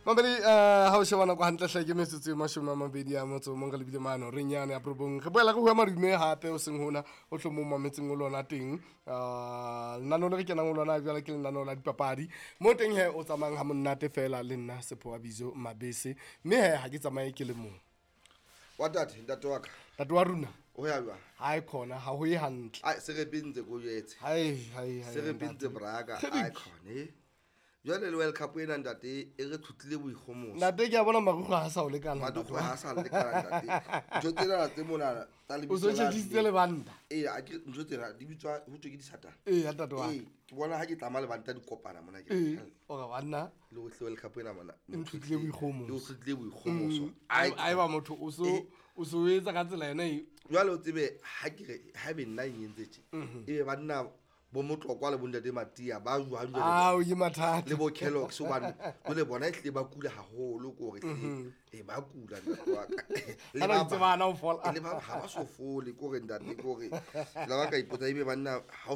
Mamedi, ha o sheba nako hantle hle ke metsotso e 21 re lebile mane horeng yane ya 9. Re boela re bua madume hape o seng hona o tlo mo mametseng o lona teng. Lenaneo le re kenang ho lona jwale ke lenaneo la dipapadi. Mo teng he o tsamayang ha monate fela le nna Sepho wa Bizo Mabese. Mme he ha ke tsamaye ke le mong. Wa tate, ntate wa ka. Ntate wa rona. O ya jwang? Ha e khona, ha ho ye hantle. Ai, se re bintse ko jwetse. Hai hai hai. Se re bintse braka, ai khone. Jwale le World Cup ena ntate e re thutlile boikgomoso. Ntate ke a bona marukgwe ha sa o lekana. Marukgwe ha sa lekana ntate. Ntho tsena tse mona tsa lebitso. O so tjhetjisitse lebanta. Ee, a ke ntho tsena di bitswa ho thwe ke disatana. Ee, ntate wa. Ee, ke bona ha ke tlama lebanta di kopana mona ke. Ee, o re banna. Le ho World Cup ena mona. Nthutlile boikgomoso. Le ho thutlile boikgomoso. Ai ba motho o so etsa ka tsela yona e. Jwale o tsebe ha ke re ha be nna e entse tje. E be banna bo Motlokwa le bontate Matia ba jwang jwale? Ao, ke mathata. Le bo Kellogg's hobane jwale bona ehlile ba kula haholo ke hore e ba kula ntate wa ka. Le ba tsebana ho fola. Le ba ha ba so fole ke hore ntate ke hore la ba ka ipotsa ebe banna ha o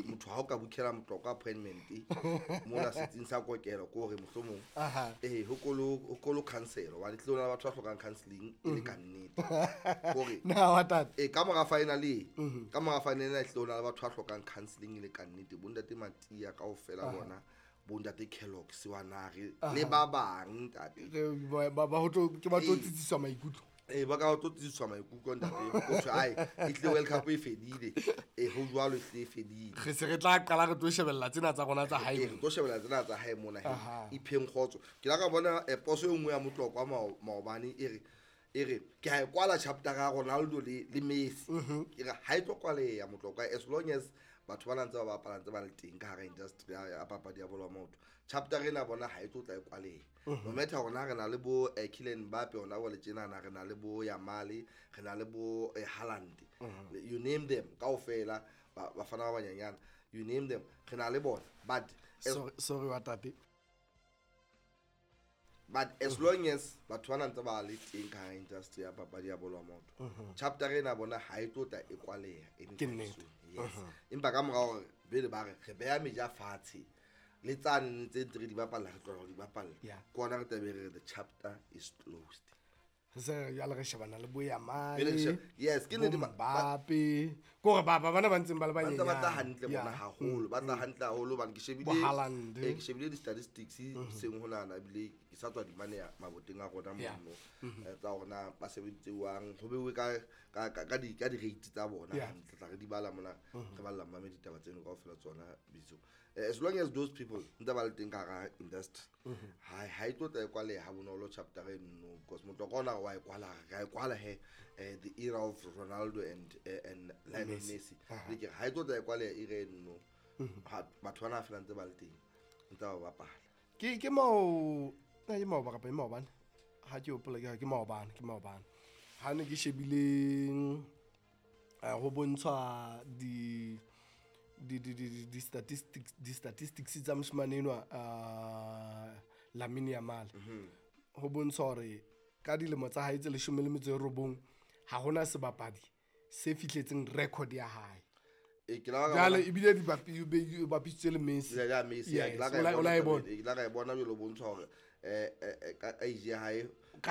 motho ha o ka bookela Motlokwa appointment mona setsing sa kokelo ke hore mohlomong ho kolo counsel hobane tle ona batho ba hlokang counseling e le ka nnete. Hore na wa tate. Ka mora final e ka mora final e tle ona batho ba hlokang counseling le ka nnete bontate Matia kaofela bona bontate Kellogg's wa nare le ba bang ntate ba ho tlo ke ba tlo tsitsiswa maikutlo ba ka tlo tsitsiswa maikutlo ntate o thwe ai e tle World Cup e fedile ho jwalo e tle e fedile re se re tla qala re tlo shebella tsena tsa rona tsa hae re tlo shebella tsena tsa hae mona ipheng kgotso ke la ka bona poso e nngwe ya Motlokwa maobane e re ke ha e kwala chapter ya Ronaldo le Messi ke re ha e tlo kwaleya Motlokwa as long as batho ba ntse ba bapala ntse ba le teng ka hara industry ya papadi ya bolo ya maoto chapter ena bona ha e tlo tla e kwaleya no matter rona re na le bo Kylian Mbappe ona bo le tjenana re na le bo Yamal re na le bo Haaland you name them kaofela bafana ba banyanyana you name them re na le bona but sorry wa tate. But as long as batho ba ntse ba le teng ka industry ya papadi ya bolo ya maoto chapter ena bona ha e tlo tla e kwaleha ke nnete. Yes empa ka mora hore bele ba re re beha meja fatshe le tsane tse ntse re di bapalla re tloha di bapalla ke ona re tlabe re the chapter is closed se ya le re shebana le bo Yamal yes ke ne Mbappe ke hore ba bana ba ntseng ba le banyane ba tla hantle bona haholo ba tla hantle haholo bana ke shebile ke shebile di statistics seng hona na ebile ke sa tswa di mane maboteng a rona mono tsa rona ba sebeditsewang ho bewe ka ka di rate tsa bona hantle tla re di bala mona re balla mmame ditaba tseno kaofela tsona bitso as long as those people ntse ba le teng ka hara industry ha e tlo tla e kwaleha ha bonolo chapter e nno because Motlokwa ona wa e kwala ga e kwala he the era of Ronaldo and Lionel Messi le ke ha e tlo tla e kwaleha era e nno batho bana fela ntse ba le teng ntse ba bapala ke mao na ke maoba kapa ke maobane ha ke hopola ke maobane ke maobane ha ne ke shebile ho bontshwa di statistics tsa moshemane enwa Lamine Yamal ho bontsha hore ka dilemo tsa hae tse 19 ha hona sebapadi se fihletseng record ya hae jwale ebile di bapisitswe le Messi ya Messi ke la ka e bona jwalo bontsha hore ka age ya hae